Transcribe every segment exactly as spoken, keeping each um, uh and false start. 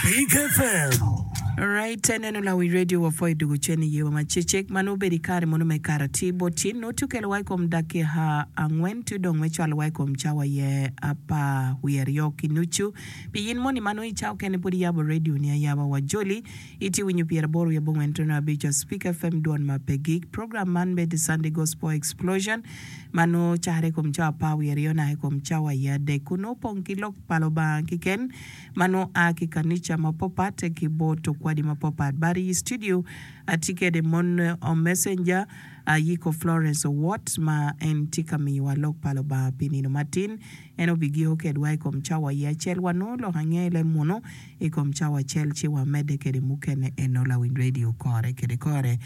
Spik F M. Right, eneno lawi radio wa pwoyo dugu cen i yewa macecek ma nongo obedo i kare mono me kare atir bot cin nongo tye okelo wa i kom dakika angwen tye dong me cwalo wa i kom cawa aye apar wiye aryo ki nucu. Pi in moni ma nongo i cawa okene pud iyabo radio ni ayaba wa joli itye winyo pyeraboro wiye abongwen tono abic Spik F M dwon ma pe gik. Program man bedo Sunday Gospel Explosion ma nongo cakre i kom cawa apar wiye aryo naka i kom cawa aye adek kun nongo opong ki lok pa Lubanga keken ma nongo a ki kanica mapapat ki bot okwadi mapapat. But i studio atye kede mon messenger Ayiko Florence Owot ma en tye ka miyowa lok pa Lubanga pi nino matin. En obigiko kedwa i kom cawa aye acel. Wanongo lok ange i leb munu i kom cawa acel ci wamedde kede mukene eno lawiny radio kore kede kore.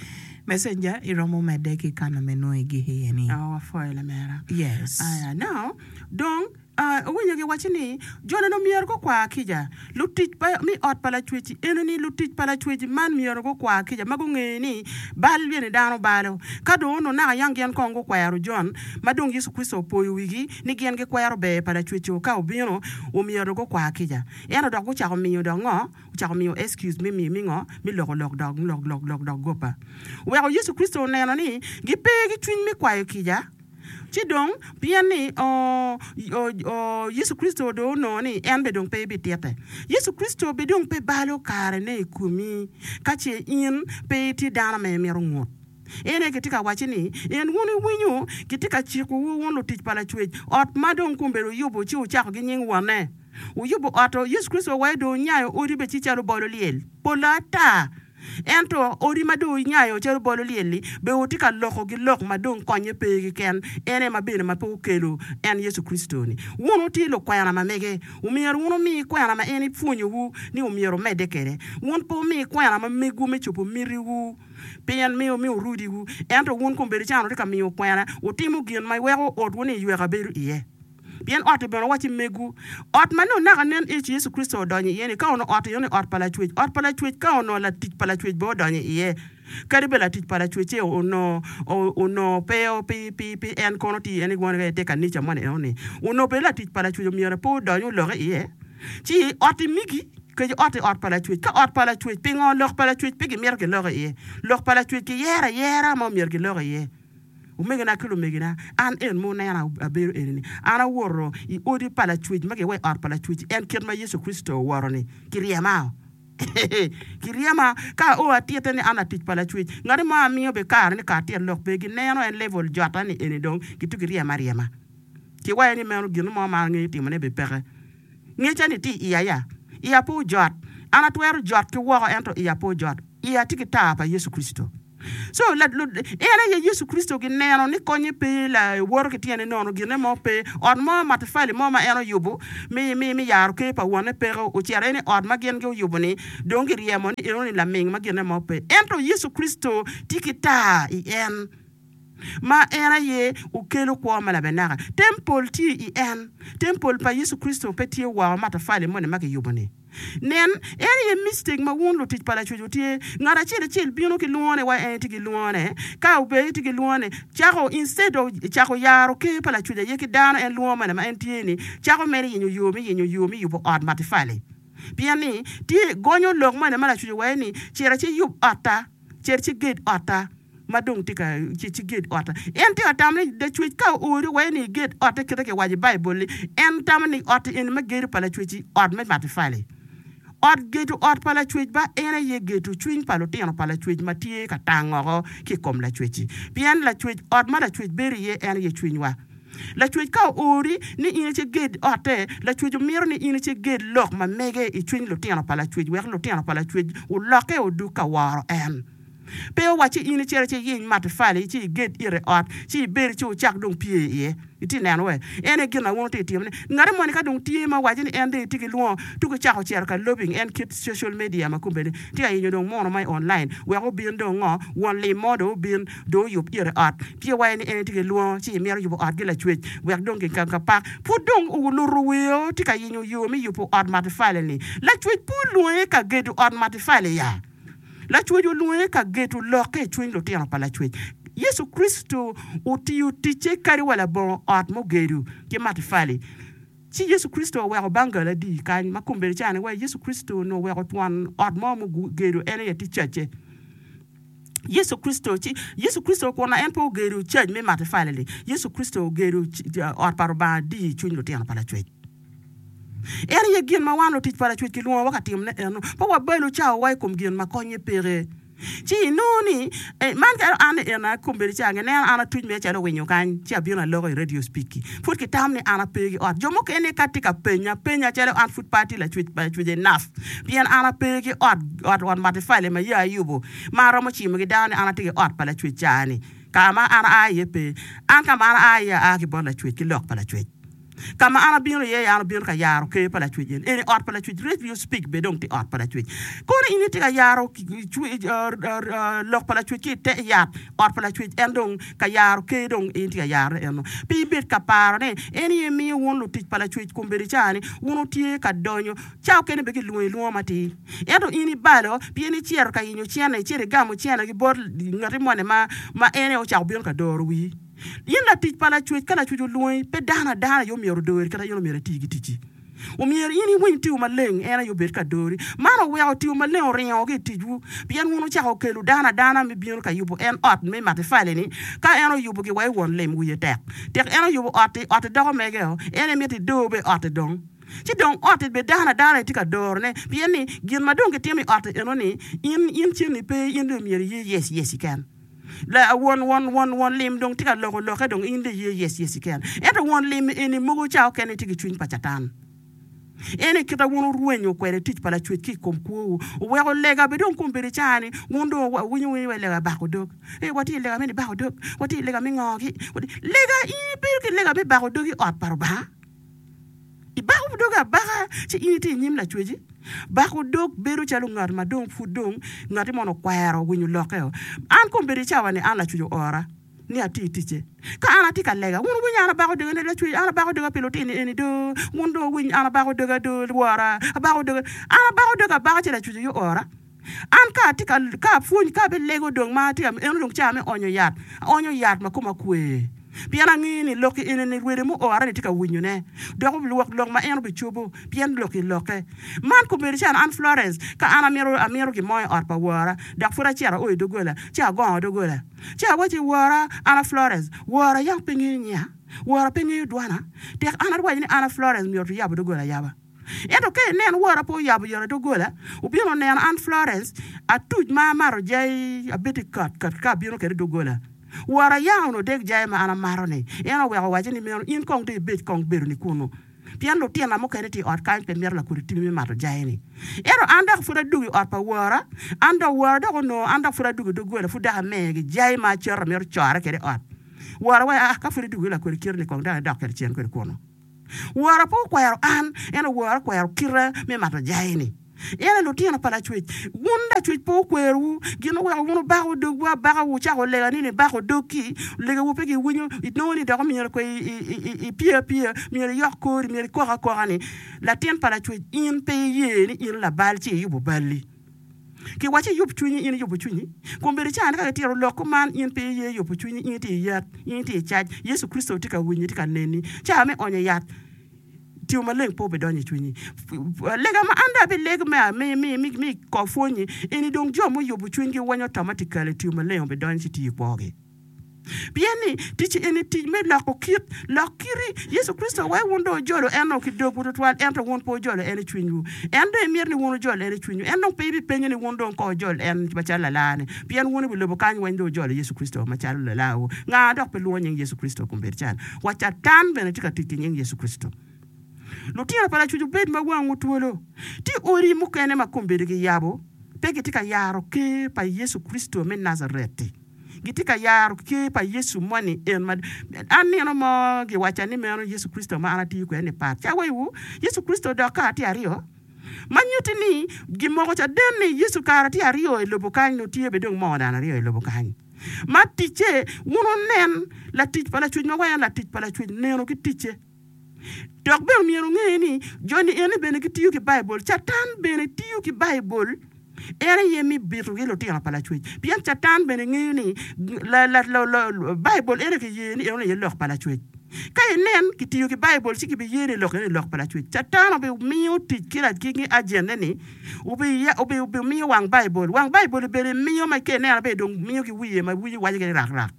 Messenger iromo medde ki kana me nongo igiko iye ni. Oh, wapwoyo lamera. Yes. Aya, now, dong, uh, owinyo giwaco ni, Jo-ni myero gukwa kica. Lutic pa, mi ot pa Lacwec-ci eno-ni, lutic pa Lacwec man myero gukwa kica ma gungeyo ni bal bene dano balo. Ka dong onongo naka yang gin kong gukwero Jon, ma dong Yecu Kricito opoyo wigi ni gin gikwero ber pa Lacwec-ci ka obino, omyero gukwa kica. Ento dok gucako miyo dok ngo? Ocako miyo excuse me, me, me ngo? Me loko lok dok, lok, lok, lok dok gopa. Oweko Yecu Kricito oneno ni gipe ki cwiny me kwayo kica. Ci dong, pien ni Yecu Kricito dong onongo ni en bene dong pe ebititte. Yecu Kricito bene dong pe balo karene i komi ka ce in pe itye dano ma imito ngut. En aye kitye ka wacce ni, En wun iwinyo, kitye ka cikowu wun lutic pa Lacwec, ot ma dong kombeddi wuyubo ci wucako ki nying Wonne. Wuyubo ot-to, Yecu Kricito waye dong onyayo odi bene ci calo bolo lyel. Polo ata! Ento odi ma dong wunyayo calo bolo lyel-li, bene wutye ka lokogi lok ma dong konye pe keken, en aye ma bene ma pe okelo en Yecu Kricito-ni. Wun wutye lukwena ma mege, omyero wun wumi kwena ma en epwonyowu ni omyero wumedde kwede. Wun pe wumi kwena ma megwu me cobo mitiwu, pien miyo miyo rudiwu, ento wun kombeddi can wutye ka miyo kwena, wutimo gin ma weko otwu-ni yweka bedo iye. Pien ot-ti bene wacci megwu. Ot ma nongo naka nen ic Yecu Kricito odonyo iye-ni, ka onongo ot eno ni ot pa Lacwec, ot pa Lacwec ka onongo latic pa Lacwec bene odonyo iye, kadi bed latic pa Lacwec-ce onongo onongo pe pi pi pi en kono tye iye ni won te kanica moni eno-ni, onongo bene latic pa Lacwec omyero pe odony oloke iye. Ci ot-ti migi, kec ot-ti ot pa Lacwec. Ka ot pa Lacwec, pingo lok pa Lacwec pe gimito giloko iye? Lok pa Lacwec kiyero ayera ma omyero gilok iye. Omegina ki lumegina, an en ma wunena abedo eni-ni, an awoto i odi pa Lacwec ma giwaco i ot pa Lacwec, en kit ma Yecu Kricito owoto-ni, kiryema. Kiryema ka ao atitte ni an latic pa Lacwec. Ngati mo amiyo be kare ni ka atit lok pe gineno en level jota ni eni dong gitugi ryema aryema. Kiwaco ni meno gin mo ma angeyo timone be peke. Ngecca ni tye i iya ya. Iya pe ojot. An atwero jot ki woko ento iya pe ojot. Iya tye ki tar pa Yecu Kricito. So, en aye Yecu Kricito gineno ni konye pe la woto ki tyene nono, ginne mo pe. Ot mo, matafali mo ma en oyubo me, me, me yaro ker pa wonne peke. Ocito en i ot ma gin guyubo-ni, dong giryemo ni enoni laming ma ginne mo pe. Ento Yecu Kricito tye ki tar i en, ma en aye okelo kwo ma labenaka. Tempol tye i en. Tempol pa Yecu Kricito pe tye woko matafali moni ma kiyubo-ni. Nen, en aye mistake ma wun lutic pa Lacwec wutye. Ngat acel acel bino ki lwongone wa en tye ki lwongone. Ka obedo tye ki lwongone, cako instead of cako yaro ker pa Lacwec aye ki dano en lwongo mene ma en tye ni, cako mere yenyo yo me yenyo yo me yubo ot matifali. Pien ni tye gonyo lok mene ma Lacwec owaco ni cit ci yub otta, cit ci ged otta. Ma dong tye ka ci ged otte. En tye ka tamo ni Lacwec ka oori wai ni iged otte kite kiwaco i Baibul-li, en tamo ni ot eni me gedo pa Lacwec-ci ot me matafali. Ot gedo ot pa Lacwec ba en aye gedo cwiny pa lutino pa Lacwec ma tye ka tang oko ki i kom Lacwec-ci. Pien Lacwec, ot ma Lacwec bedo iye en aye cwinywa. Lacwec ka oori ni in ici ged otte, Lacwec omito ni in ici ged lok ma mege i cwiny lutino pa Lacwec wek lutino pa Lacwec olokke odug ka woro en. Pe owacci in icit ci iyiny matafali ci iged ite ot ci ibed ci wucak dong pye iye. Itye neno we? En aye gin ma wun wutye ka timone. Ngati moni ka dong tye ma owaco ni en dong etye ki lwongo tuko cako cito ka lobbying en kit social media ma kombeddi tye ka yenyo dong muno ma i online wek obin dong ngo won lim mo dong obin dong oyub ite ot. Tye waci ni en etye ki lwongo ci imito yubo ot ki lacwec wek dong ki ka pak. Pud dong oluto weo tye ka yenyo yo me yubo ot matafali-ni. Lacwec pe olwonge ka gedo ot matafali ya. Lacwec olwonge ka geto lokke i cwiny lutino pa Lacwec. Yecu Kricito otiyo ticce kadi wa labongo ot mugedo ki matafali. Ci Yecu Kricito oweko bangal adi kany ma kombeddi cani wa Yecu Kricito onongo oweko twon ot mo mugedo en aye tye cacce. Yecu Kricito ci Yecu Kricito kun en pe ogedo cac me matafali-li, Yecu Kricito ogedo ot pa Rubanga adi i cwiny lutino pa Lacwec. En aye gin ma wan lutic pa Lacwec kilwongowa ka timone eno. Pe wabalo cawawa i kom gin ma konye peke. Ci inongo ni, man kadi an ni ena kombeddi ca gineno an atuc mere calo winyo kany, ci abino aloko i radio speak-ki. Pud kitamo ni an ape ki ot. Jo mukene ka tye ka penya, penya calo an pud pe atye lacwec pa Lacwec enough, pien an ape ki ot, ot ot matafali ma ya ayubo, ma aromo cimo ki dano ni an atye ki ot pa Lacwec ca-ni. Ka ma an aa iye pe. An ka ma an aa iye aa ki bot Lacwec ki lok pa Lacwec. Ka ma an abino iye, an abino ka yaro ker pa Lacwec eni. Eni ot pa Lacwec, Radio Speak bene dong tye ot pa Lacwec. Kono in itye ka yaro lok pa Lacwec ki i te yat ot pa Lacwec, en dong ka yaro ker dong in itye ka yarone eno. Pe ibed ka paro ni en aye miyo wun lutic pa Lacwec kombeddi ca-ni wun wutye ka donyo. Ca okene bene gilwongi lwongo matir. Ento in ibalo pien icito ka yenyo cene, icito igamo cene ki bot ngati moni ma en aye ocako bino ka doro wii. In latic pa Lacwec, ka Lacwec olwongi, pe dano adana aye omyero odori, kadi in omyero iti ki ticci. Omyero in iwiny tiyo maleng, en aye obed ka dori. Man oweko tiyo maleng oringo ki i ticwu, pien wun wucako kelo dano adana me bino ka yubo en ot me matafali-ni. Ka en oyubo giwa i won lim, wiye tek. Tek en oyubo ot-ti, ot-ti doko mege-o, en aye mito idor bene ot-ti dong. Ci dong ot-ti bene dano adana aye tye ka dorone, pien ni gin ma dong gitimo i ot-ti eno-ni, in, in cen-ni pe, in dong myero iye yes yes keken. La, won, won, won, won lim dong tye ka loko lokke dong in dong iye yes yes keken. Ento won lim eni mogo ca okene tye ki cwiny pa Catan. En aye kit ma wun wurwenyo kwede tic pa Lacwec ki i kom kwowu. Wuweko lega bene dong kombeddi ca ni wun dong wuwinyo winyo wai lega bako dog. Ee, watye i lega me nibako dog, watye i lega me ngo-gi. Lega, in ibedo ki lega me bako dog i ot pa Rubanga? Ibako dogi abaka ci in itye i nyim Lacweci. Bako dog bedo calo ngat ma dong pud dong ngati mono okwero winyo lokke-o. An kombeddi i cawa-ni an Lacwec oora ni ati ticce. Ka an atye ka lega, wun wuwinyo an abako doga ni Lacwec, an abako doga pi lutini eni do, wun dong wuwiny an abako doga do, Wora, abako doga. An abako doga abaka ci Lacwec aye oora. An ka atye ka, ka apwony, ka abilego dong ma atye ka, eno dong cawa me onyo yat, aonyo yat ma koma kwe. Pien angeyo ni lokki eni-ni rwede muora-ni tye ka winyone, dok obilwok lok ma en obicobo, pien lokki lokke. Man kobedo calo an Florence, ka an amito, amito gin mo i ot pa wora, dok pud acito ao i doggola, ci agongo doggola. Ci awacci, Wora, an a Florence. Wora yam pe ngeyo nyiya? Wora pe ngeyo dwana? Tek an arwaco ni an a Florence, myero tuyabo doggola ayaba. Ento ka inen wora pe oyabo yot i doggola, wubino neno an Florence, atuc ma amato jai abed kat kat ka abino kwede i doggola. Wora yam onongo dek jai ma an amato-ni, en oweko owacce ni meno in kong dong ibed kong bedoni kunnu, pien lutinna mukene tye i ot kany pe mito lakodi timi me mato jai-ni. Ento an dok pud adwogo i ot pa wora, an dok wora dok onongo an dok pud adwogo i doggola pud dok amegi jai ma acito amito core kwede i ot. Wora waco, Aa, ka pud idwogo ki lakodi kite-ni kong dok idok kwede cen kwede kunnu. Wora pe okwero an, ento wora okwero kite me mato jai-ni. En aye lutino pa Lacwec. Wun Lacwec pe okwerowu, gin oweko wun wubako dogwu abaka, wucako lega ni nibako dog-ki, legawu pe giwinyo, inongo ni dok myero kwe ipye apyeya, myero iyok kori, myero ikok akoka-ni. Latin pa Lacwec, in pe iye ni in labal ci iyubo balli. Kiwaco iyub cwinyi, in iyubo cwinyi. Kombeddi cani ka kitito lok kuman, in pe iye yubo cwinyi, in itye i yat, in itye i cac, Yecu Kricito tye ka winyi, tye ka neni. Cawa me onyo yat, Tipo Maleng pe obidonyo i cwinyi. Lega ma an dong abilego me me me me kor pwonyi eni dong jo muyubo cwinygi weng automatically Tipo Maleng obidonyo ci tiyo i kwogi. Pien ni, tic eni tic me loko kit, lok kiti. Yecu Kricito weko wun dong wujolo en ki dogwu twatwal, ento wun pe wujolo en i cwinywu. En dong emito ni wun wujol en i cwinywu. En dong pe ibipenyo ni wun dong kong wujol en macalo lalarni, pien wun i wi lobo kany weng dong wujolo Yecu Kricito macalo lalarwu. Nga dok pe lwongo nying Yecu Kricito kombeddi can? Wa Catan bene tye ka tic ki nying Yecu Kricito. Lutino pa Lacwec wubed ma wangwu twolo. Tye odi mukene ma kombeddi giyabo, pe gitye ka yaro ker pa Yecu Kricito me Najaret-ti. Gitye ka yaro ker pa Yecu moni en ma an nino mo giwacca ni meno Yecu Kricito ma an atiyo kwede ni pat. Ca waiwu, Yecu Kricito dok kare tye aryo, ma nyutti ni gimoko caden ni Yecu kare tye aryo i lobo kany nyo tye bene dong moo dano aryo i lobo kany. Ma ticce, wun wunen latic pa Lacwec ma wa en latic pa Lacwec neno ki ticce. Dok bene omyero wunge ni joni eni bene gitiyo ki Baibul. Catan bene tiyo ki Baibul, en aye me bitogi lutino pa Lacwec. Pien Catan bene ngeyo ni Baibul ene kiye ni eno aye lok pa Lacwec. Ka inen kitiyo ki Baibul ci kibiye ni lok eni lok pa Lacwec. Catan obimiyo tic ki ki ajenne-ni, obimiyo wang Baibul. Wang Baibul obedo imiyo ma ka ineno bene dong miyo ki wiye ma wiye waco gini rakrak.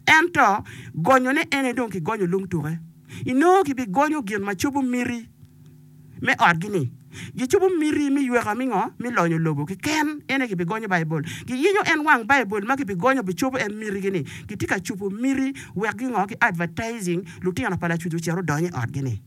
Ento gonyone en aye dong kigonyo lung tuke. Inongo kibigonyo gin ma cobo miti me otgi-ni. Gicobo miti me yweka me ngo? Me lonyo lobo keken. En aye gibigonyo Baibul. Giyenyo en wang Baibul ma gibigonyo bicobo en mitigi-ni. Gitye ka cobo miti wek gingo? Gi advertising lutino pa Lacwec ocit odony i otgi-ni.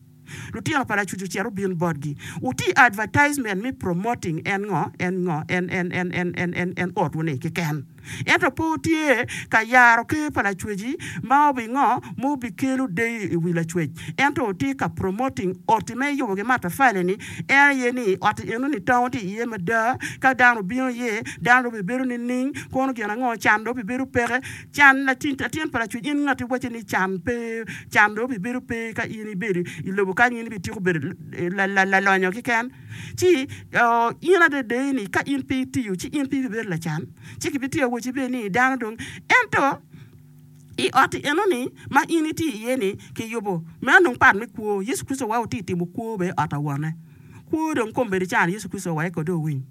Lutino pa Lacwec ocit obin botgi. Wuti advertisement me promoting en ngo? En ngo? En en en en en en en otwu-ni keken. Ento pe wutye ka yaro ker pa Lacweci ma obingo ma obikelo deyo i wi Lacwec, ento wutye ka promoting oti ma iyubo ki matafali-ni, en aye ni ot eno-ni tango tye iye mada, ka dano obino iye, dano dong obibedo nining, kono gin ango, can dong obibedo peke, can latin pa Lacwec in ngat iwacce ni can pe, can dong obibedo pe ka in ibedo i lobo kany in ibitiko bedo lalonyo keken. Ci in adada ni ka in pe itiyo ci in pe ibibedo lacan. Ci kibitiyo weci bene ni dano dong ento i ot enoni ma in itye iye ni kiyubo meno dong pat me kwo. Yecu Kricito wa otye timo kwo bene i ot awone. Kwo dong kombeddi can Yecu Kricito wa eko dong owiny.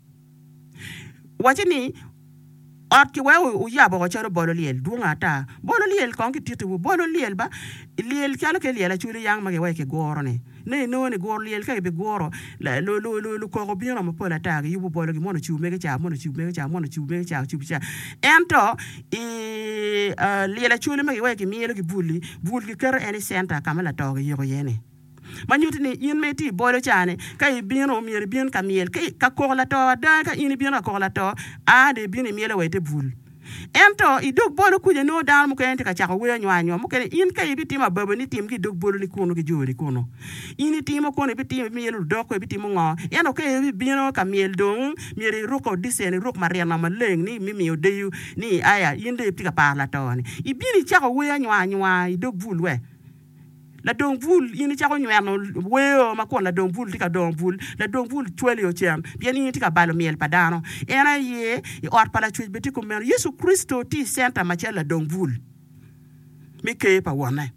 Wacce ni ot kiweko oyabo oko calo bolo lyel dwong ata. Bolo lyel kong kititiwu bolo lyel ba lyel calo ke lyel acwali yang ma giweko kiguro-ni. Ne inongo ni guro lyel ka gibiguro lukoko bino mapol ata giyubo bolo gi mono ocibo mege ca mono ocibo mege ca mono ocibo mege ca ocibo ca ento i lyel acwali ma giweko kimyelo ki bul-li bul giketo en i centa ka ma lato giyiko iye-ni. Ma nyuto ni in ma itye i bolo ca-ni, ka ibino myero ibin ka myel. Ka koko lato ada, ka in ibino ka koko lato, a dong ibino imyelo wa i te bul. Ento i dog bolo kuca nongo dano mukene tye ka cako wer anywar anywar mukene. In ka ibitimo ababa ni tim ki i dog boloni kunu ki joni kunu. In itimo kono ibitimo ibimyelo ludoko ibitimo ngo. Ento ka ibibino ka myel dong myero iruk odicen iruk marino maleng ni me miyo deyo ni aya in dong itye ka paro lato-ni. Ibino icako wer anywar anywar i dog bul we. Ladong bul, in icako nyweno weo ma kun ladong bul tye ka dongo bul, ladong bul cwali ocen pien in itye ka balo myel pa dano. En aye i ot pa Lacwec bene tye kumeno. Yecu Kricito tye i centa macalo ladong bul me ker pa Wonne.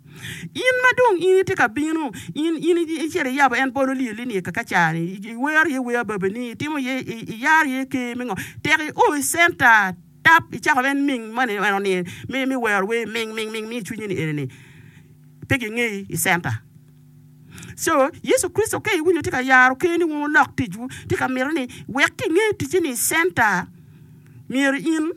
In ma dong in itye ka bino, in in icito iyabo en bolo lyelli ni kakaca-ni, iwero iye wer ababani, itimo iye, iyaro iye ker me ngo, tek io i centa tap icako en ming moni eno-ni me wero wer ming ming ming mi i cwinyi ni eni-ni. Pe gingeyi i centa. Co, Yecu Kricito ka iwinyo tye ka yaro ker ni wun wulok ticwu, tye ka mito ni wek kinge ticce ni i centa, myero in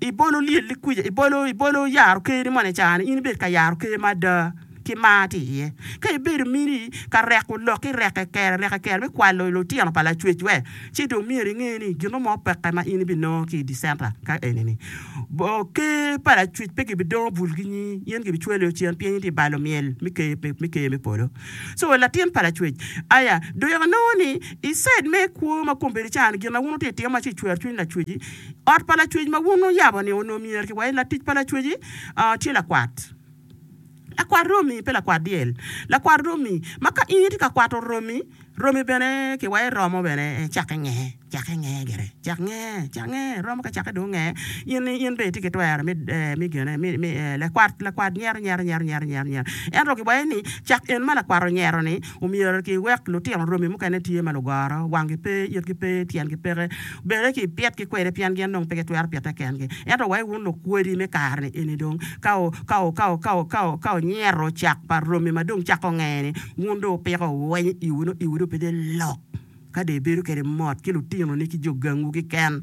ibolo lyelli kwica, ibolo, ibolo yaro ker ni moni ca-ni, in ibed ka yaro ker ma ada ki mar tye iye. Ka ibedo mini ka reko lok ki reke kere, reke kere me kwalo lutino pa Lacwec we, ci dong myero inge ni gin mo peke ma in ibinongo ki i di centa ka eni-ni. Ker pa Lacwec pe gibidongo bulgi nyi, in gibicwali ocen pien in itye balo myel me ker me ker me polo. So latin pa Lacwec, aya dong inongo ni i side me kwo ma kombeddi ca-ni gin ma wun wutye ka timo ma ci cwero cwiny Lacweci, ot pa Lacwec ma wun wuyabo-ni onongo myero kiwaci latic pa Lacweci tye lakwat. Lakwat romi, pe lakwat dyel. Lakwat romi, ma ka in itye ka kwato romi, romi bene kiwaco romo bene cakke nge, cakke nge gire, cak nge, cak nge, romo ka cakke dong nge, in in bene itye ki twero me me gine me me lakwat lakwat nyero nyero nyero nyero nyero nyero. Ento kiwaco ni cak en ma lakwat onyero ni omyero kiwek lutino romi mukene tye ma lugoro, wanggi pe, itgi pe, tyengi peke, Bene kipitgi kwede pien gin dong pe gitwero pite kengi. Ento wai wun lukwedi me kare-ni eni dong, ka ka wunyero cak pa romi ma dong cako nge-ni, wun dong wupiko wuwenyo iwu nongo iwu dong pe tye lok, ka dong ibedo kwede mot ki lutinoni ki jo gangwu keken.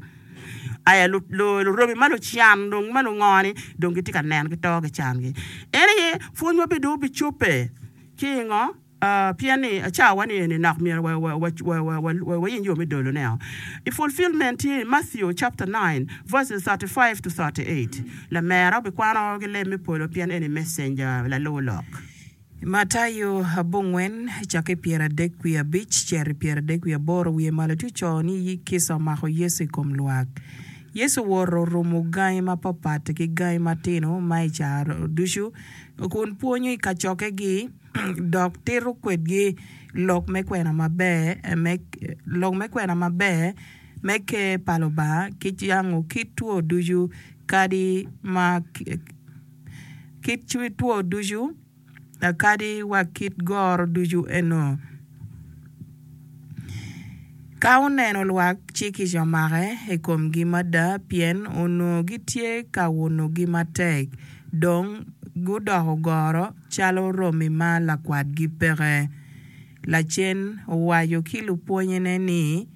Aya luromi ma lucan dong ma lungo-ni dong gitye ka neno gito ki cangi. En aye pwonywa bene dong obicobbe ki i ngo? Pien ni cawa ni eni nok myero wayeny yo me dolone o. I fulfillment tye i Matthew chapter nine verses thirty five to thirty eight. Lamera obikwano ki leb me polo pien eni messenger lalur lok. Matayo abongwen cakke i pyeradek wiye abic cito i pyeradek wiye aboro wiye malo tye oco ni kica omako Yecu i kom lwak. Yecu owoto orumo gangi mapapat ki gangi matino ma i caro ducu kun pwonyo i kacokkegi dok tito kwedgi lok me kwena maber me lok me kwena maber me Ker pa Lubanga ki cango kit two ducu kadi ma kit two ducu kadi wa kit goro ducu eno. Ka oneno lwak, ci kica omake i komgi mada, pien onongo gitye ka unogi matek, dong gudoko goro calo romi ma lakwatgi peke. Lacen owaco ki lupwonnyene ni,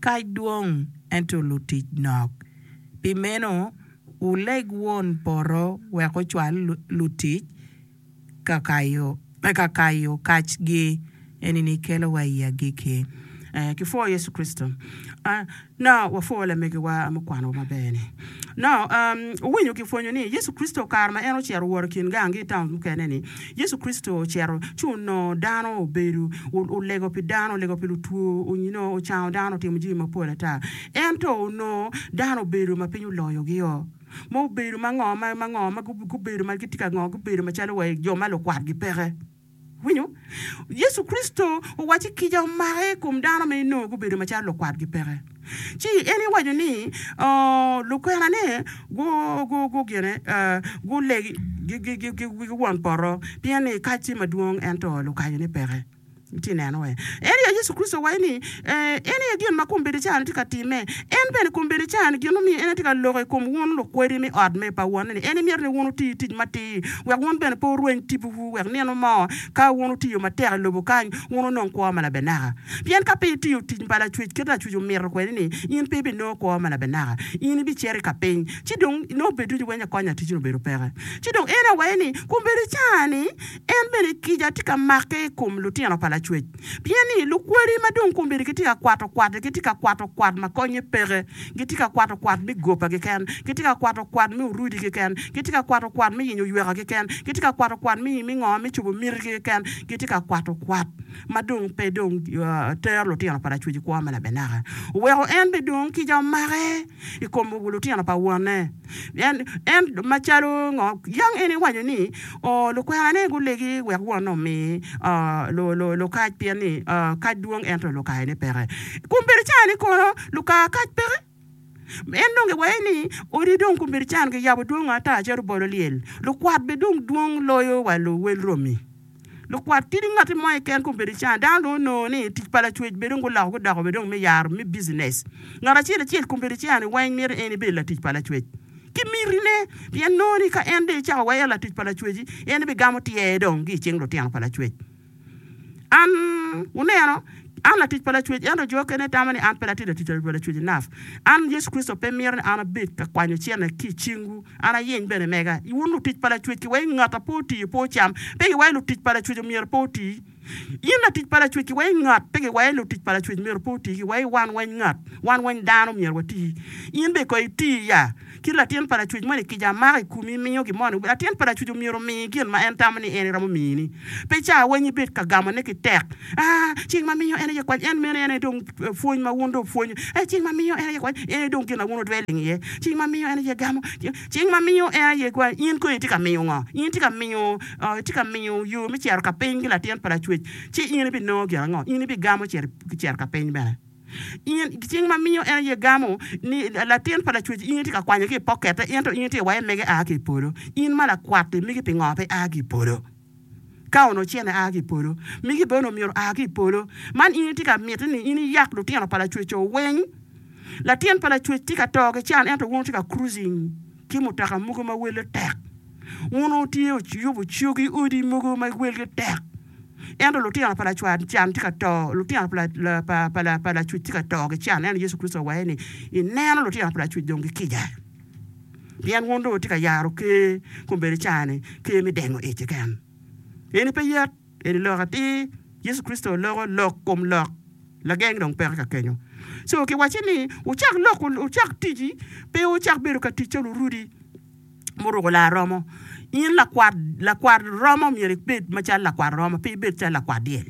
Kac dwong, ento lutic nok. Pi meno, wuleg Won poto wek ocwal lutic ka kayo kacgi. Eni-ni kelowa i agikki. Eh, kipwoyo Yecu Kricito. Ah, no, wapwoyo lamegiwa mukwanowa maber-ni. No, um, wuwinyo kipwonyo ni Yecu Kricito kare ma en ocito wot i kin gang ki i taun mukene-ni, Yecu Kricito ocito ci onongo dano obedo, olego pi dano, olego pi lutwo, you know, ocango dano, otimo jami mapol ata. Ento onongo dano obedo ma piny oloyogio, ma obedo ma ngo, ma ngo, ma gubedo ma gitye ka ngo, gubedo macalo wa jo ma lukwatgi peke. Winyo? Yecu Kricito owacci kica omake i kom dano ma inongo gubedo macalo lukwatgi peke. Ci en iwaco ni lukwenane gugine gulegi ki won poto pien ni kac tye madwong ento lukayone peke. Itye neno we? En aye Yecu Kricito owaco ni en aye gin ma kombeddi ca-ni tye ka timme. En bene kombeddi ca-ni gin mumiyo en tye ka loko i kom wun lukwedi me ot me pa wonne ni en mito ni wun wuti tic matir wek wun bene pe wurweny tipowu wek nino mo ka wun wutiyo matek i lobo kany wun wunong kwo ma labenaka. Pien ka pe itiyo tic pa Lacwec kit Lacwec omito kwede-ni in pe ibinongo kwo ma labenaka. In ibicito i kapiny ci dong nongo bed ducu weng akonya ticci obedo peke. Ci dong en awaco ni kombeddi ca-ni En bene kica tye ka make i kom lutino pa Lacwec, pien ni lukwadi ma dong kombeddi gitye ka kwato kwat, gitye ka kwato kwat ma konye peke, gitye ka kwato kwat me goba keken, gitye ka kwato kwat me orudi keken, gitye ka kwato kwat me yenyo yweka keken, gitye ka kwato kwat me ngo me cobo mitigi keken, gitye ka kwato kwat ma dong pe dong tero lutino pa Lacwec i kwo ma labenaka. Oweko en bene dong kica omake i kom lutino pa wonne. En, en macalo ngo, yang en iwaco ni, O, lukwenane gulegi wek wonne omi lukac, pien ni kac dwong ento lukayone peke. Kombeddi cani kono luka kac peke. En dong giwaco ni odi dong kombeddi cani giyabo dwongo ata calo bolo lyel. Lukwat bene dong dwong loyo wa luwel romi. Lukwat kadi ngatti mo keken kombeddi cani dano dong onongo ni tic pa Lacwec bene dong guloko gudoko bene dong me yaro me business. Ngat acel acel kombeddi cani weng mito en ibed latic pa Lacwec. Ki mitine, pien nongo ni ka en dong ecako weko latic pa Lacwec-ci, en bigamo tyer dong ki i cing lutino pa Lacwec. An, wuneno, an latic pa Lacwec, ento jo okene tamo ni an pe atye latic pa Lacwec enough. An, Yecu Kricito pe mito ni an abed ka kwanyo cente ki i cingwu, an ayeny bene mega. Wun lutic pa Lacwec, kiwaco ngat a pe otiyo pe ocam, pe kiwaco lutic pa Lacwec omyero pe oti. In latic pa Lacwec kiwaci ngat, pe kiwaci lutic pa Lacwec myero pe oti, kiwaci wan weny ngat, wan weny dano myero wati. In bene kono iti ya kit latin pa Lacwec moni kica mako i komi miyo gin moni, latin pa Lacwec myero omi gin ma en tamo ni en eromo mini. Pe ca weny ibed ka gamone ki tek, aa ceng ma miyo en aye kwany, en meno en aye dong pwony ma wun dong wupwonyo, ee ceng ma miyo en aye kwany, en aye dong gin ma wun wudwelling iye, ceng ma miyo en aye gamo, ceng ma miyo en aye kwany, in kono itye ka miyo ngo? In itye ka miyo Itye ka miyo yo me cito ka piny ki latin pa Lacwec, ci in ibinongo gin ango? In ibigamo cito ka piny bene. In, cing ma miyo en aye gamo ni latin pa Lacwec in itye ka kwanyo ki i pokette, ento in itye ka waco mege a ki i polo. In ma lakwat-ti, migi pingo pe a ki i polo? Ka onongo cene a ki i polo, migi bene onongo myero oa ki i polo. Man in itye ka miti ni in iyak lutino pa Lacwec-co weng. Latin pa Lacwec tye ka to ki can ento wun wutye ka cruising ki mutoka mogo ma welle tek. Wun wutye wuyubo cogi odi mogo ma welgi tek, ento lutino pa lacwar can tye ka to, lutino pa Lacwec tye ka to ki can. Ento Yecu Kricito owaco ni, Ineno lutino pa Lacwec dong gikica, pien wun dong wutye ka yaro ker kombeddi ca-ni, ker me dengo ic keken. Eni pe yet. Eni lok atir, Yecu Kricito oloko lok kom lok, lageng dong peke ka kenyo. Co kiwacce ni, Wucak lok, wucak tic, pe wucak bedo ka tic calo orudi muruko laa romo. In lakwat, lakwat romo myero ibed macalo lakwat romo, pe ibed calo lakwat dyel.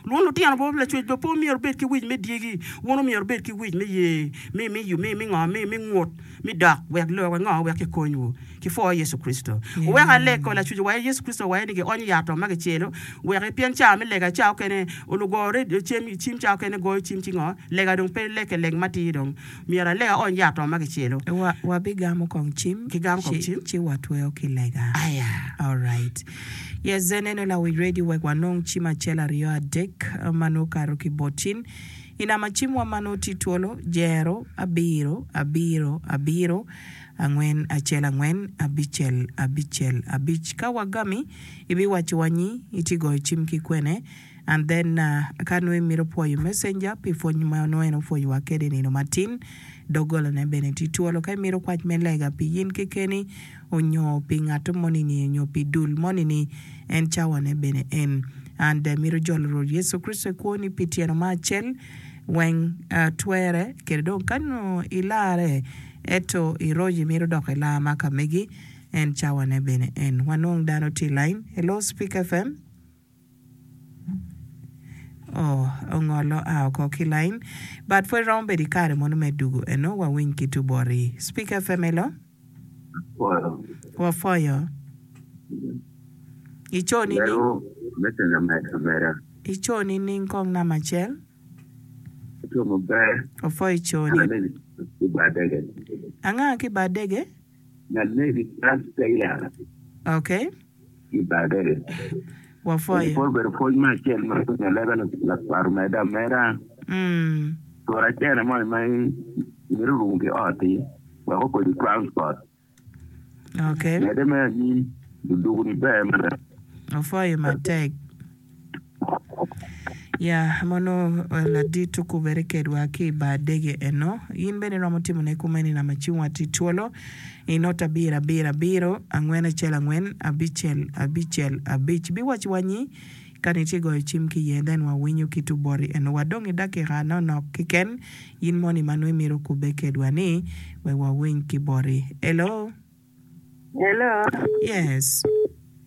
Wun lutino bene Lacwec bene pe myero wubed ki wic me dyegi, wun myero wubed ki wic me ye, me, me, me, me ngo, me, me ngut. Mi dok wek lok ango wek kikonywu ki pwo Yecu Kricito. Wuwek aleg ko Lacwec owaco Yecu Kricito owaco ni gionyo yat ma gicelo wek pien ca me lega ca okene olugo radio cem cim ca okene goyo cim ci ngo lega dong pe leke leng matir dong myero aleg aony yat ma gicelo. Wa wabigamo kong cim Kigamo kong ci cim. ci watweyo ki lega. Aya. Alright. Yes, then eno lawic radio wek wanong cim acel aryo adek ma nongo okato ki bot cin. I namba cimwa ma nongo tye twolo, jero, abiro, abiro, abiro, angwen, acel, angwen, abicel, abicel, abic. Ka wagami, ibiwacowa nyi itye goyo cim ki kwene. And then ka nongo imito pwoyo messenger pi pwony ma nongo en opwonyowa kwede i nino matin, doggolane bene tye twolo. Ka imito kwac me lega pi in kekeni onyo pi ngat moni-ni onyo pi dul moni-ni, en cawane bene en. And imito jolo Rwot Yecu Kricito i kwoni pi tyeno ma acel weng twere kede dong ka nongo ilare ento iroco imito dok ilar ma ka megi, en cawane bene en. Wanong dano tye i line. Hello Speak F M. Oh, ongolo a oko ki line. But pwod romo bedo i kare mono me dugu eno wawiny ki tu boti. Speak F M hello. Wapwoyo. Ico nining? Ico nining kong namba acel? Opwoyo ico ni. Anga ki badege? Okay. Wapwoyo. Pwod obedo pwony me acel ma winyo lebe lakwat omedde ameda. Mm. Tura cene moni ma imito rumo ki ot-ti wek okodi transport. Okay. Medde me anyim luduguni ber mada. Opwoyo matek. Ya mono ladit okubere kedwa ki i bar dege eno. In bene iromo timone kumeni namba cim wa tye twolo i not abiro abiro abiro angwen acel angwen abicel abicel abic. Biwaci wa nyi ka ni itye goyo cim ki iye then wawinyo ki tu boti eno. Wadong i dakika nonok keken in moni ma nongo imito kubbe kedwa ni wek wawiny ki boti. Hello. Hello. Yes.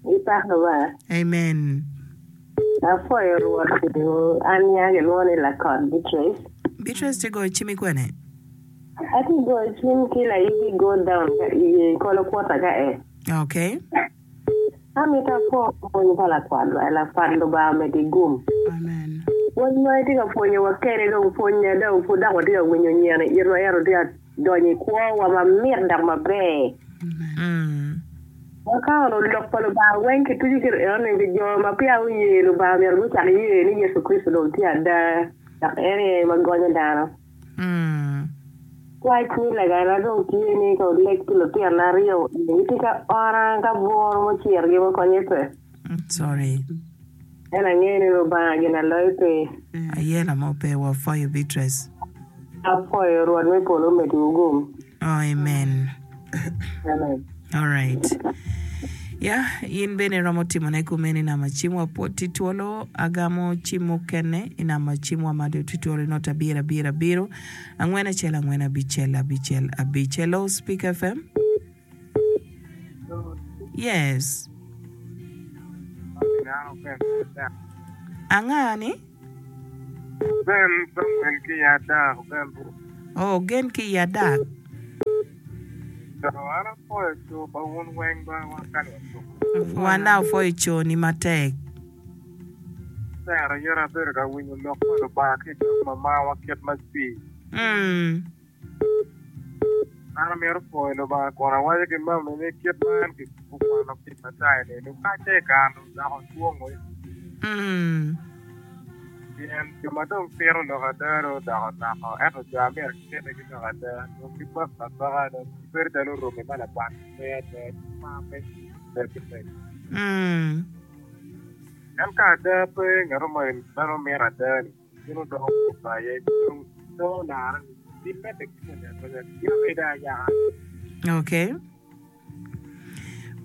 Ipako ba? Amen. Apwoyo Rwot an nya gilwongo ni Lakot Beatrice. Beatrice tye goyo cim i kwene? Atye goyo cim ki Layibi go down ka iye kolo kwota ka e. Okay. Amito apwo pwony pa lakwat ba lakwat Lubanga omedi gum. Amen. Pwony ma itye ka pwonyowa kede dong pwony dong pud dok watye ka winyo nyen i itwa ento tye ka donyo i kwowa mamit dok maber. Mm. Ka ono lok pa Lubanga weng kituco kit enoni pi jo ma peya guye Lubanga myero gucak ye ni Yecu Kricito dong tye ada dok en aye ma gonyo dano. Mm. Kwac ni legana dong tye ni ka oleg pi lutino aryo gitye ka ora ka bworo mucirgi ma konye pe. Sorry. En angeyo ni Lubanga gin aloyo pe. Ayela mo pe wapwoyo Beatrice. Apwoyo Rwot me polo omediwu gum. Oh, amen. Amen. All right. Ya, in bene iromo timone kumene i namba cim wa pwod tye twolo agamo cim mukene i namba cim wa ma tye twolo not abiro abiro abiro angwen acel angwen abicel abicel abic. Hello, Speak F M. Yes. Anga ni? Ben Samuel ki i Adak, Ben. Oh, gen ki i Adak. So an apwoyo co pa wun weng ba wan kany watuko. Wan apwoyo co ni matek. Ber ayera abedo ka winyo lok pa Lubanga ki i dog mamawa kit ma cwi. Mm. An amito pwoyo Lubanga kun awaco ki mami ni kit ma en okwano ki Matayo ni lukacce i kare odoko dwongo. Mm. Pien jo ma dong tito lok ada dong odoko noko ento jo a myero gitite ki lok ada dong gibako abaka dong gibedo calo romi ma lakwat pe ada mar pe ki mego. Mm. En ka ada pe ngat mo meno mito ada ni bino doko kubo aye dong nongo larre ni bimedde ki mwonyo amwonya gin ayaka. Okay.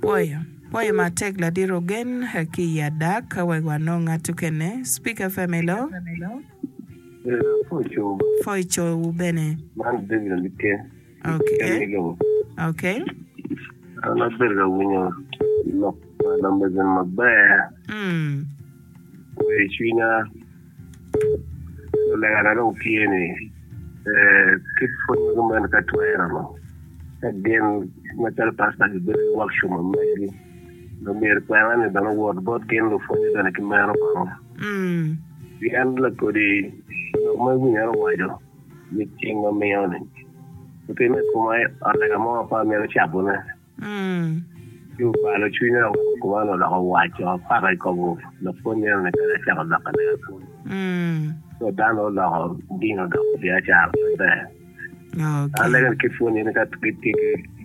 Pwoyo. Pwoyo matek ladit Ogen ki i Adak wek wanong ngat okene. Speak F M hello. Pwoyo. Pwoyo cowu bene. Man David Alike. Okay. Okay. An abedo ka winyo lok pa lamego maber. Mm. Kweyo cwinya. Legana dong tye ni kit pwony magi meno ka twero no ka gin macalo pastor gibedo ki workshop ma megi myero kwena ni bene owot bot gin lupwonye bene ki meno kono. Mm. Pien lakodi lok ma iwinyo en owaco ni cing ma miyo ni otime i koma ot lega mo pe amito cabone. Mm. Ci obalo cwinya kuma oloko waco paka i kom lapwony eno ni kadi acako loko lega pwony. Mm. So dano oloko dini odoko biacara maber. Okay. Alego ni kit pwony eni ka gitye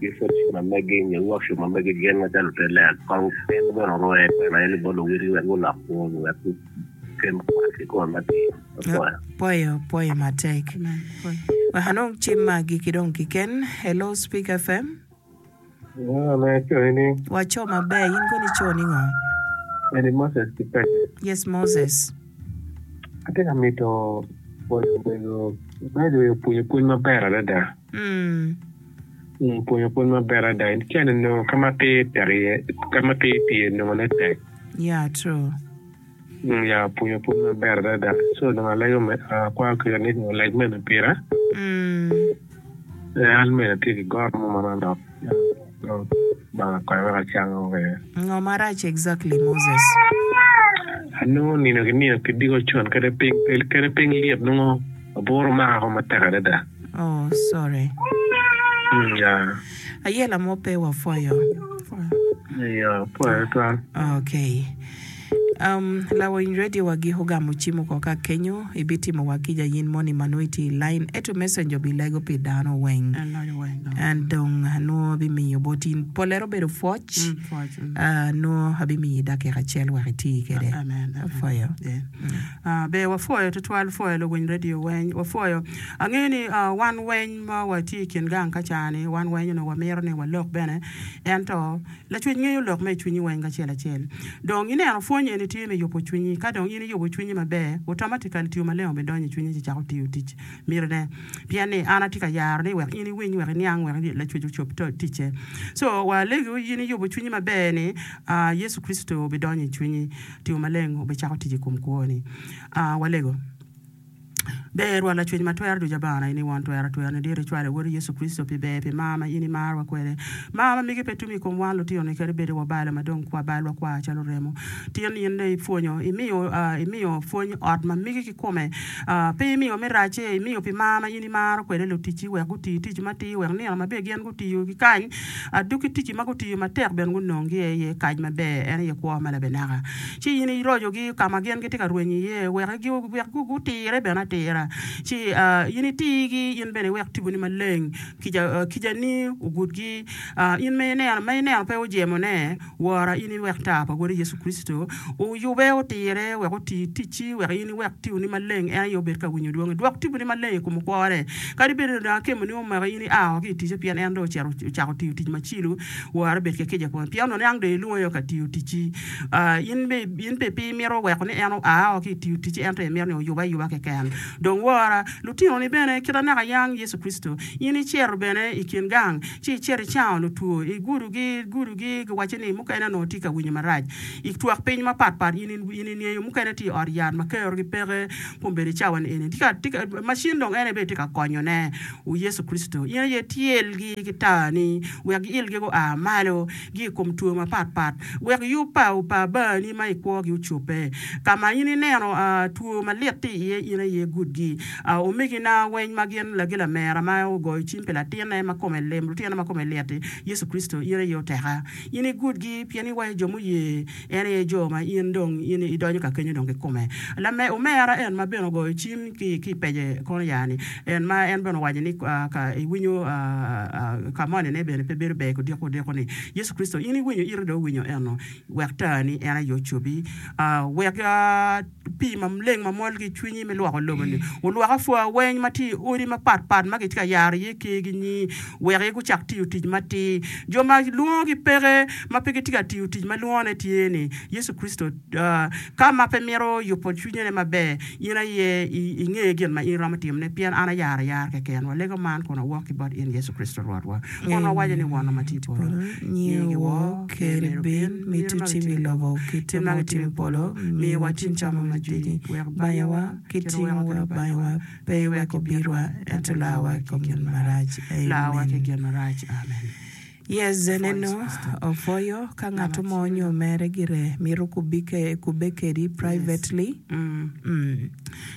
ki fellowship ma megi nyo workshop ma megi gin macalo lute lega kong en bene orwe kwena eni bot luwotgi wek gulok kwogi wek gukem kwat ki kome matir. Apwoyo. Pwoyo, pwoyo matek. Amen. Pwoyo. Wek anong cim magi ki dong kiken. Hello, Speak F M. Me coyini. Waco maber, in kono ico ni ngo? Eni Moses ki Pete. Yes, Moses. Atye ka mito pwonyo mego mego pwonyo pwony maber adada. Mm. Mm, pwonyo pwony maber adada. Cene nongo ka ma tir tek iye, ka ma tir tye nongo ne tek. Yeah, true. Mm, ya pwonyo pwony maber adada. So dong alego me akwayo kica ni oleg mene pira. Mm. Eh, an mene atye ki goro mo manok. Banga konya wek acango kwede. Ngo marac exactly, Moses? Anongo nino ki nino ki diko con kede piny kede piny liet nongo aburo mako matek adada. Oh, sorry. Mm, ya. Ayela mo pe wapwoyo. Ya, pwoyo twal. Okay. Um, lawiny radio wagi ogamo cimo ko ka kenyo ibitimo wa kica yin moni ma nongo itye i line ento messenger obilego pi dano weng. En loyo weng dong. And dong nongo abimiyo bot in polere obedo pwoc. Mm, pwoc. Mm. Uh, nongo abimiyi dakika acel wek iti kwede. Amen. Amen. Apwoyo. Yeah. Uh, be wapwoyo tutwal pwoyo luwiny radio weng wapwoyo angeyo ni uh, wan weng ma watye i kin gang ka cani wan weng onongo wamito ni walok bene ento lacwec ngeyo lok me i cwinyi weng kacel acel dong ineno pwony eni tye me yubo cwinyi ka dong in iyubo cwinyi maber automatically tiyo maleng obidonyo i cwinyi ci cako tiyo tic mitine pien ni an atye ka yaro ni wek in iwiny wek iniang wek lacwec ocop to- ticce so walego in iyubo cwinyi maber ni uh, Yecu Kricito obidonyo i cwinyi tiyo maleng obicako tic i kom kwoni uh, walego Ber Rwot lacwec ma twero ducu abana in i won twero twero ni dit icwalo wodi Yecu Kricito pi ber pi mar ma in imarowa kwede mar ma migi pe tum i kom wan lutinoni kadi bedi wabalo ma dong kwa balwa kwar calo remo tin in dong ipwonyo imiyo uh, imiyo pwony ot ma migi kikome uh, pe imiyo me race imiyo pi mar ma in imaro kwede luticci wek guti tic matir wek nino maber gin gutiyo ki kany aduki ticci ma gutiyo matek bene gunong gi iye kac maber en aye kwo ma labenaka ci in irocogi ka ma gin gitye ka rwenyo iye wek gi wek gutire bene atira ci uh, in itigi in bene iwek tiponi maleng kica uh, kicani ogudgi uh, in ma ineno ma ineno pe ojemone wora in iwek tar pa wodi Yecu Kricito oyube otire wek oti ticci wek in iwek tiponi maleng en aye obed ka winyo dwongi dwok tiponi maleng i kom kwore kadi bed ni dong akemoni omako in ia ki i ticce pien en dong ocito ocako tiyo tic macilo wora bed ki kica kome pien onongo niang dong ilwonge ka tiyo ticci uh, in be in be pe imito weko ni en oa ki i tiyo ticci ento imito ni oyube ayuba keken dong wora lutinoni bene kita naka yang Yecu Kricito in icito bene i kin gang ci icito icango lutwo igudogi gudogi giwaco ni mukene onongo tye ka winyo marac i twak piny mapatpat in in ingeyo mukene tye i ot yat ma kerogi peke kombeddi cawa ni eni tye ka tye ka macin dong en aye bene tye ka konyone o Yecu Kricito in aye tyelgi ki tarni wek giilgi gua malo gi i kom two mapatpat wek yub pa pa abani ma i kwogi ocobbe ka ma in ineno uh, two malit tye iye in aye gudgi uh, omegina weng ma gin lagi lamera ma ogoyo cim pi latine ma kome lim lutine ma kome lit-ti Yecu Kricito in aye oteka in igudgi pien iwaco jo muye en aye jo ma in dong in idonyo ka kenyo dong kikome lame omera en ma bene ogoyo cim ki ki pece kono yani en ma en bene owaco ni uh, ka iwinyo uh, uh, ka moni ne bene pe bedo ber kodiko odiko ni Yecu Kricito in iwinyo ite dong owinyo eno wek tani en aye ocobi uh, wek uh, pii maleng ma mol ki i cwinyi me lwoko lobo-ni olwok apwa weng ma tye i odi mapatpat ma gitye ka yaro iye kergi nyi wek gucak tiyo tic matir jo ma lwongogi peke ma pe gitye ka tiyo tic ma lwongone tye ni Yecu Kricito uh, ka ma pe mito yubo cwinyene maber in aye inge gin ma in iromo timone pien an ayaro ayara keken walego man kun awok ki bot in Yecu Kricito Rwotwa kun wawaco ni wonwa ma tye i polo Nyingi wor ker bin miti timi i lobo kite ma gitimo i polo miwa cin camo madini banyawa ki tingowa banyawa pe iwek obitwa ento larwa i kom gin marac. Larwa ki Amen. gin marac amen. Yes, neno opwoyo ka ngat mo onyo mere gire mito kubike kubbe kedi privately. Mm. Mm.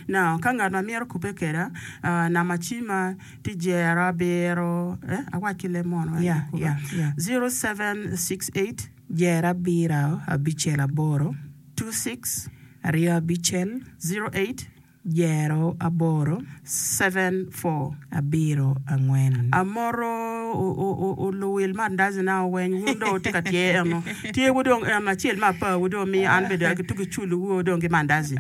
Now, ka ngat ma mito kubbe keda, uh, namba cima tye jero abiro, eh, awac ki leb mono, eh, Yeah, kubbe. yeah, yeah. zero seven six eight Jero abiro abicel aboro two six aryo abicel zero eight jero aboro seven four. abiro angwen. Amoro oluwil mandazi na oweny wun dong wutye ka tye eno. Tye wu dong en acel ma apa wu dong miyo an bene atuko culo wu dong ki mandazi.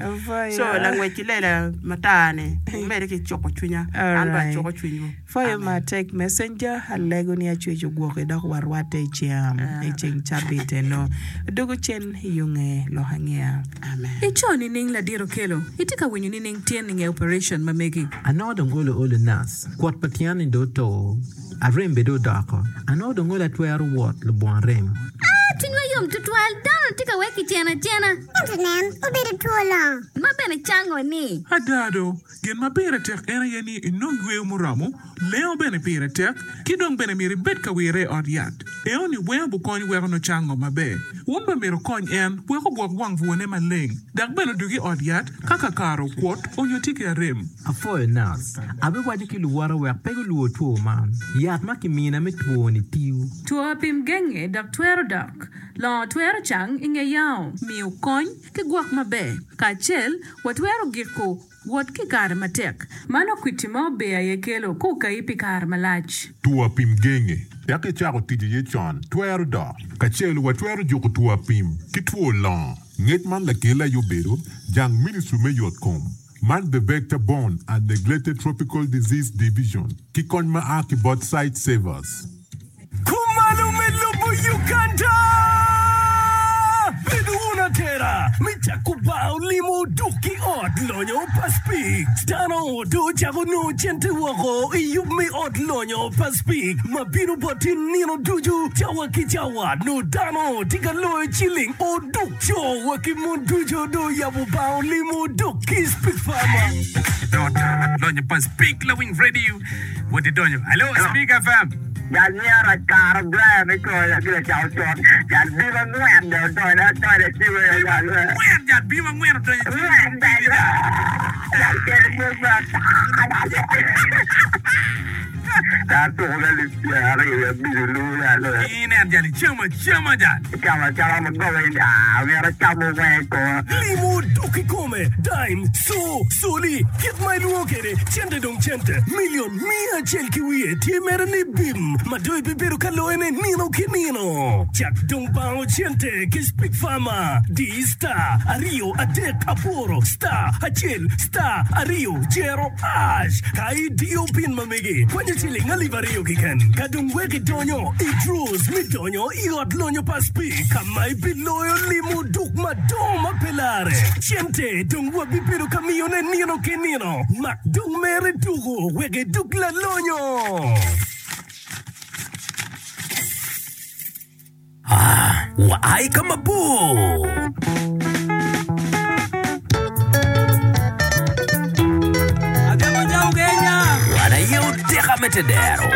So langwec ki lela matar ni wumede ki cuko cwinya. An bene acuko cwinywu. Pwoyo Amen. matek messenger alego ni acweco gwoki dok warwatte i ceng i ceng cabit eno. Dugo cen i yo nge lok angeya. Amen. Ico nining ladit Okello? Itye ka winyo nining tyen i nge operation ma megi? Anongo dong olo olo nac, kwot pa tyen-ni dong oto, arem bene dong odoko. Anongo dong olo atwero wot lubongo arem. Aa, cwinywa yom tutwal! Dano tye ka wek kicen acena. Ento nen, obedo two longo. Ma bene cango ni. Ada do, gin ma pire tek en aye ni inong yweyo muromo, lengo bene pire tek, ki dong bene myero ibed ka wire i ot yat. Eno-ni weng obukony weko nongo cango maber. Wun bene myero wukony en wek ogwok wang bwone maleng, dok bene odug i ot yat ka kakare okwot onyo tye ki arem. Apwoyo nac, abiwaco ki luwota wek pe gulwor two man. Yat ma kimina me two-ni tiyo. Two apim genge dok twero dok. Longo twero cang i nge yango. Miyo kony ki gwok maber. Kacel, watwero giko wot ki kare matek. Mano kwiti ma ober aye kelo kukayi pi kare malac. Two apim genge dok icako tic iye con twero dok. Kacel watwero juko two apim ki two longo. Ngec man lakel aye obedo jang Ministry me Yotkom man The Vector Borne and Neglected Tropical Disease Division ki kony ma a ki bot Sight Savers. Kumalo me lobo Uganda! Bedo wun atera me cako bar olimo duk ki ot lonyo pa Speke. Dano dong ocako nongo cente woko i yub me ot lonyo pa Speke ma bino bot in nino ducu cawa ki cawa. Nongo dano tye ka loyo ciling oduk co wa ki mon ducu dong oyabo bar olimo duk ki Speke Farmer. Dota lonyo pa Speke Lawiny Radio wot idonyo. Hello Speke F M. Jal myero akaro Brian i kore gire cako con. Jal bim angwen dong odonyo atole ci weo jal we. Angwen jal bim angwen odonyo ci Angwen jal we. Jal kelo pwony ma Jal tuko ka alip pyera aryo wiye abic olu jal we. Inen jal icamo acama jal. Icamo acama ma goba in aa myero acamo weng i koma. Limo dok i kome, dime, co, coli, kit ma ilwongo kwede, cente dong cente, milion miya acel ki wiye tye mere ni bim ma dong ibibedo ka loyone nino ki nino. Cak dong bango cente ki Speke Farmer. Di star aryo adek aboro star acel star aryo jero hash ka idiyo pin ma megi kwanyo ciling alip aryo keken. Ka dong wek idonyo i draws me donyo i ot lonyo pa Speke ka ma ibiloyo limo duk madongo ma pe lare. Cente dong wabibedo ka miyone nino ki nino. Mak dong mere tuko wek iduk lalonyo. Ah, wa ai ka mabor! Wan aye oteka me tedero.